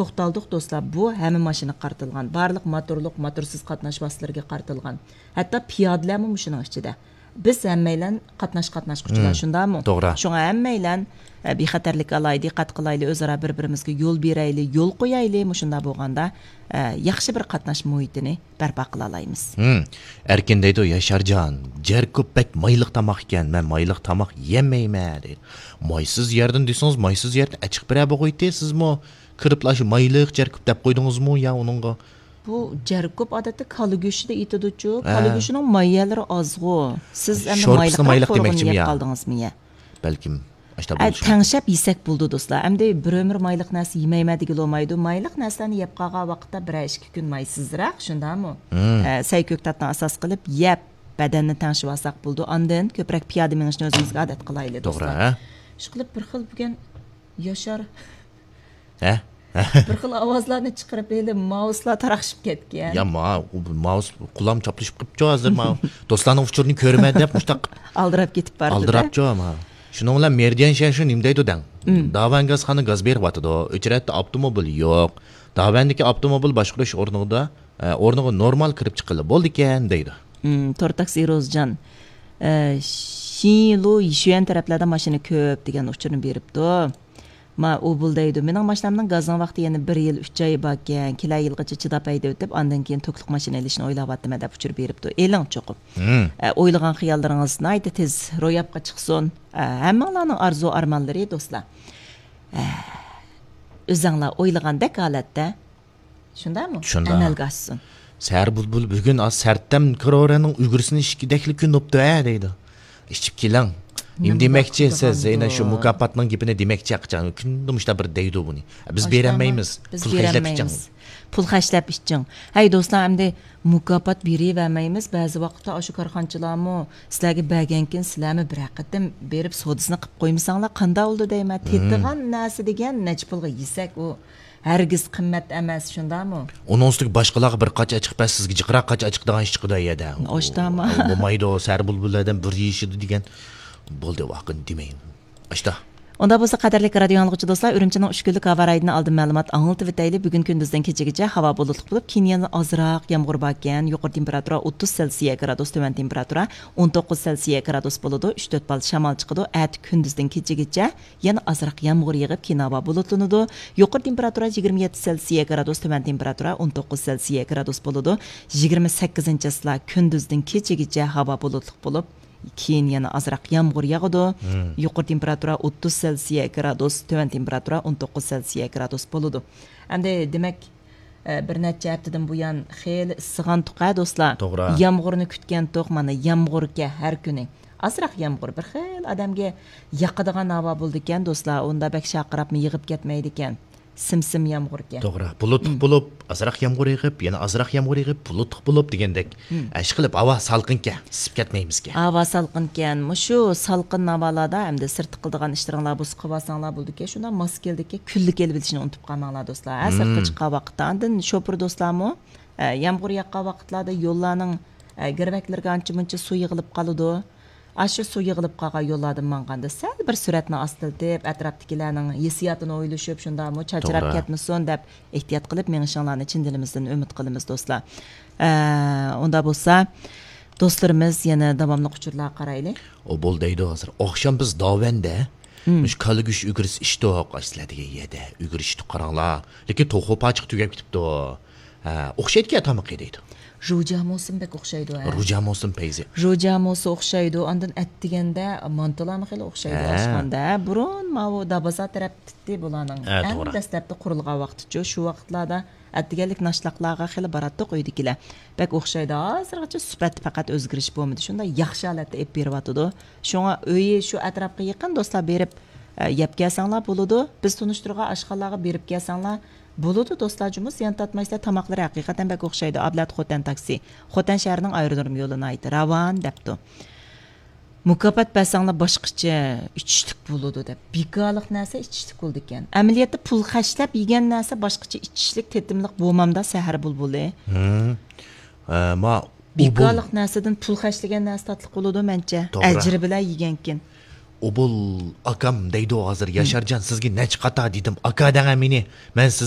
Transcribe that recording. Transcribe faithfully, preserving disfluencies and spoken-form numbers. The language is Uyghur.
توختالدۇق دوستلار، بۇ ھەممە ماشىنىغا قارىتىلغان، بارلىق موتورلۇق، موتورسىز قاتناش ۋاسىتىلىرىگە قارىتىلغان، ھەتتا پىيادىلەرمۇ مۇشۇنىڭ ئىچىدە. بىز ھەممەيلەن قاتناش قاتناشقۇچىلار، مم. شۇنداقمۇ؟ توغرا. شۇڭا ھەممەيلەن، ئە، بىخەتەرلىك ئالاي، دىققەت قىلايلى، ئۆزئارا بىر-بىرىمىزگە يول بېرەيلى، يول قويايلى، مۇشۇنداق بولغاندا، ئە، ياخشى بىر قاتناش مۇھىتىنى بەرپا قىلالايمىز. مم. ئەركىن دەيدۇ، ياشارجان، جەركوب بەك مايلىق تاماق ئىكەن، مەن مايلىق تاماق يېمەيمەن دەيدۇ. مايسىز يەردىن دېسىڭىز، مايسىز يەردىن ئەچىقىپ بېرە بوغۇيتى، سىزمۇ كىرىپلا شۇ مايلىق جەركوب دەپ قويدىڭىزمۇ يا ئۇنىڭغا؟ بۇ جەركوپ ئادەتتە كالا گۆشىدە ئېتىدۇچۇ. ھە. كالا گۆشىنىڭ ماي يەرلىرى ئازغۇ. سىز ئەمدى شورپىسىنى مايلىقراق مايلىق تورىغىنى دېمەكچىمۇ يەپ يا؟ قالدىڭىزمۇ يە؟ بەلكىم ئاشتا ئە، بولۇشى مۇمكىن. تەڭشەپ يېسەك بولىدۇ، دوستلار. ئەمدى بىر ئۆمۈر مايلىق نەرسە يېمەيمەن دېگىلى بولمايدۇ. مايلىق نەرسىلەرنى يەپ قالغان ۋاقىتتا بىرەر ئىككى كۈن مايسىزراق، شۇنداقمۇ؟ مم. ئە، سەي كۆكتاتنى ئاساس قىلىپ يەپ، بەدەننى تەڭشىۋالساق بولىدۇ. ئاندىن كۆپرەك پىيادە مېڭىشنى ئۆزىمىزگە ئادەت قىلايلى، توغرا، دوستلار. ھە؟ ئىشقىلىپ بىر خىل بۈگۈن ياشار ھە؟ بىر خىل ئاۋازلارنى چىقىرىپ، ھېلى ماۋۇسلار تاراقشىپ كەتكەن. يا، ما-، ماۋۇس قۇلام چاپلىشىپ قىپچۇ ھازىر، ما-، دوستلارنىڭ ئۇچۇرىنى كۆرىمەن دەپ مۇشتاق ئالدىراپ كېتىپ باردى-دە. ئالدىراپچۇ، ما. شۇنىڭ بىلەن مېرىدىيان شيەنشى نېمە دەيدۇ دەڭ؟ مم. داۋەنگاز خانا گاز بېرىۋاتىدۇ. ئۆچرەتتە ئاپتوموبىل يوق. داۋەندىكى ئاپتوموبىل باشقۇرۇش ئورنىدا، ئە، ئورنىغا نورمال كىرىپ چىققىلى بولىدىكەن دەيدۇ. مم، تور تاكسى روزجان، ئە، شىنلۇ يىشۈەن تەرەپلەردە ماشىنا كۆپ دېگەن ئۇچۇرنى بېرىپتۇ. ما، ئۇ بۇل دەيدۇ، مېنىڭ ماشىنامنىڭ گازىنىڭ ۋاقتى يەنە بىر يىل ئۈچ ئاي باركەن، كېلەر يىلغىچە چىداپ ھەيدەۋېتىپ، ئاندىن كېيىن توكلۇق ماشىنا ئېلىشنى ئويلاۋاتىمەن دەپ ئۇچۇر بېرىپتۇ. ئېلىڭ چوقۇم. مم. ئە، ئويلىغان خىياللىرىڭىز ناھايىتى تېز روياپقا چىقسۇن. ئە، ھەممىڭلارنىڭ ئارزۇ ئارمانلىرى، دوستلار. ئە، ئۆزەڭلار ئويلىغاندەك ھالەتتە شۇنداقمۇ؟ شۇنداق. ئەمەلگە ئاشسۇن. سەھەر بۇلبۇل بۈگۈن ئاز سەرتەم كرورەنىڭ ئۈگرىسىنى ئىچكۈدەكلا كۈن بوپتۇ ھە دەيدۇ. ئىچىپ كېلىڭ. نېمە دېمەكچى سىز؟ يەنە شۇ مۇكاپاتنىڭ گېپىنى دېمەكچى ھەقىچان. كۈندە مۇشۇنداق بىر دەيدۇ بۇنى. بىز بېرەلمەيمىز. پۇل خەجلەپ ئىچىڭ. پۇل خەجلەپ ئىچىڭ. ھەي دوستلار، ئەمدى مۇكاپات بېرىۋەرمەيمىز. بەزى ۋاقىتتا ئاشۇ كارخانىچىلارمۇ سىلەرگە بەرگەنكىن، سىلەرمۇ بىرەر قېتىم بېرىپ سودىسىنى قىپ قويمىساڭلار قانداق بولىدۇ دەيمەن. تېتىغان نەرسە دېگەن نەچچە پۇلغا يېسەك ئۇ. ھەرگىز قىممەت ئەمەس، شۇنداقمۇ؟ ئۇنىڭ ئۈستىگە باشقىلارغا بىر قاچا ئېچىق بەر، سىزگە جىقراق قاچا ئېچىقىدىغان ئىش چىقىدۇ يەردە. ئاشتاما؟ بولمايدۇ، سەھەر بۇلبۇللاردىن بىر يېيىشىدۇ دېگەن. بولدى، ۋاقىتنى دېمەيمەن. ئاشتا. ئۇنداق بولسا، قەدىرلىك رادىيو ئاڭلىغۇچى دوستلار، ئۈرۈمچىنىڭ ئۈچ كۈنلۈك ھاۋا رايىدىن ئالدىن مەلۇمات ئاڭلىتىۋېتەيلى. بۈگۈن كۈندۈزدىن كېچىگىچە ھاۋا بۇلۇتلۇق بولۇپ، كېيىن يەنە ئازراق يامغۇر باركەن. يۇقىرى تېمپېراتۇرا ئوتتۇز سېلسىيە گرادۇس، تۆۋەن تېمپېراتۇرا ئون توققۇز سېلسىيە گرادۇس بولىدۇ. ئۈچ تۆت بال شامال چىقىدۇ. ئەتە كۈندۈزدىن كېچىگىچە يەنە ئازراق يامغۇر يېغىپ، كېيىن ھاۋا بۇلۇتلىنىدۇ. يۇقىرى تېمپېراتۇرا يىگىرمە يەتتە سېلسىيە گرادۇس، تۆۋەن تېمپېراتۇرا ئون توققۇز سېلسىيە گرادۇس بولىدۇ. يىگىرمە سەككىزىنچى چىسلا كۈندۈزدىن كېچىگىچە ھاۋا بۇلۇتلۇق بولۇپ، كېيىن يەنە ئازراق يامغۇر ياغىدۇ. مم. يۇقىرى تېمپېراتۇرا ئوتتۇز سېلسىيە گرادۇس، تۆۋەن تېمپېراتۇرا ئون توققۇز سېلسىيە گرادۇس بولىدۇ. ئەمدى دېمەك، ئە، بىر نەچچە ھەپتىدىن بۇيان خېلى ئىسسىغانتۇق ھە دوستلار. توغرا. يامغۇرنى كۈتكەنتۇق، مانا يامغۇركەن ھەر كۈنى. ئازراق يامغۇر بىر خىل ئادەمگە ياقىدىغان ھاۋا بولىدىكەن دوستلار. ئۇندا بەك شارقىراپمۇ يېغىپ كەتمەيدىكەن. سىم-سىم يامغۇركەن. توغرا. بۇلۇتلۇق بولۇپ، ئازراق يامغۇر يېغىپ، يەنە ئازراق يامغۇر يېغىپ، بۇلۇتلۇق بولۇپ دېگەندەك. ئىشقىلىپ ھاۋا سالقىنكەن، ئىسسىپ كەتمەيمىزكەن. ھاۋا سالقىنكەن. مۇشۇ سالقىن ھاۋالاردا ئەمدى سىرتتا قىلىدىغان ئىشلىرىڭلار بولسا قىلىۋالساڭلار بولىدىكەن. شۇنداق ماسكا كېلىدىكەن، كۈنلۈك ئېلىۋېلىشنى ئۇنتۇپ قالماڭلار دوستلار. ھە، سىرتقا چىققان ۋاقىتتا. ئاندىن شوپۇر دوستلارمۇ، ئە، يامغۇر ياغقان ۋاقىتلاردا يوللارنىڭ، ئە، گىرۋەكلىرىگە ئانچە-مۇنچە سۇ يىغىلىپ قالىدۇ. ئاشۇ سۇ يىغىلىپ قالغان يوللاردىن ماڭغاندا سەل بىر سۈرئەتنى ئاستىلىتىپ، ئەتراپتىكىلەرنىڭ ھېسسىياتىنى ئويلىشىپ، شۇنداقمۇ چاچراپ كەتمىسۇن دەپ ئېھتىيات قىلىپ مېڭىشىڭلارنى چىن دىلىمىزدىن ئۈمىد قىلىمىز، دوستلار. ئە، ئۇنداق بولسا، دوستلىرىمىز يەنە داۋاملىق ئۇچۇرلارغا قارايلى. ئوبۇل دەيدۇ ھازىر. ئاخشام بىز داۋەندە مۇشۇ كالا گۆش ئۈگرىسى ئىچتۇق، ئاشۇ سىلەر دېگەن يەردە ئۈگرە ئىچتۇق، قاراڭلار. لېكىن توخۇ پاچىقى تۈگەپ كېتىپتۇ. ھە، ئوخشايدىكەن تامىقى دەيدۇ. روجا موسىم بەك ئوخشايدۇ، ھە. روجا موسىم پەيزى. روجا موسى ئوخشايدۇ، ئاندىن ئەتىگەندە مانتىلارمۇ خېلى ئوخشايدۇ، ھە. ئاشخانىدا. بۇرۇن ماۋۇ دابازار تەرەپتىتتى بۇلارنىڭ. ھە، ئەڭ توغرا. دەسلەپتە قۇرۇلغان ۋاقتىچۇ، شۇ ۋاقىتلاردا ئەتىگەنلىك ناشتاقلارغا خېلى باراتتۇق ئۆيدىكىلەر. بەك ئوخشايدۇ. ھازىرغىچە سۈپەتتە پەقەت ئۆزگىرىش بولمىدى. شۇنداق ياخشى ھالەتتە ئېلىپ بېرىۋاتىدۇ. شۇڭا ئۆيى شۇ ئەتراپقا يېقىن دوستلار، بېرىپ، ئە، يەپ كەلسەڭلار بولىدۇ. بىز تونۇشتۇرغان ئاشخانىلارغا بېرىپ كەلسەڭلار بولىدۇ، دوستلار، جۇمۇ زىيان تارتمايسىلەر، تاماقلىرى ھەقىقەتەن بەك ئوخشايدۇ. ئابلەت خوتەن تاكسى، خوتەن شەھىرىنىڭ ئايرودروم يولى ناھايىتى راۋان دەپتۇ. مۇكاپات بەرسەڭلار باشقىچە ئىچىشلىك بولىدۇ دەپ. بىكارلىق نەرسە ئىچىشلىك بولىدىكەن. ئەمەلىيەتتە پۇل خەجلەپ يېگەن نەرسە باشقىچە ئىچىشلىك، تېتىملىق بولمامدا سەھەر بۇلبۇلى. ھىم. ئە، ما، بىكارلىق نەرسىدىن پۇل خەجلىگەن نەرسە تاتلىق بولىدۇ مەنچە. توغرا. ئەجرى بىلەن يېگەنكىن. ئوبۇل ئاكام دەيدۇ ھازىر، ياشارجان، سىزگە نەچچە قاتا دېدىم، ئاكا دەڭە مېنى. مەن سىز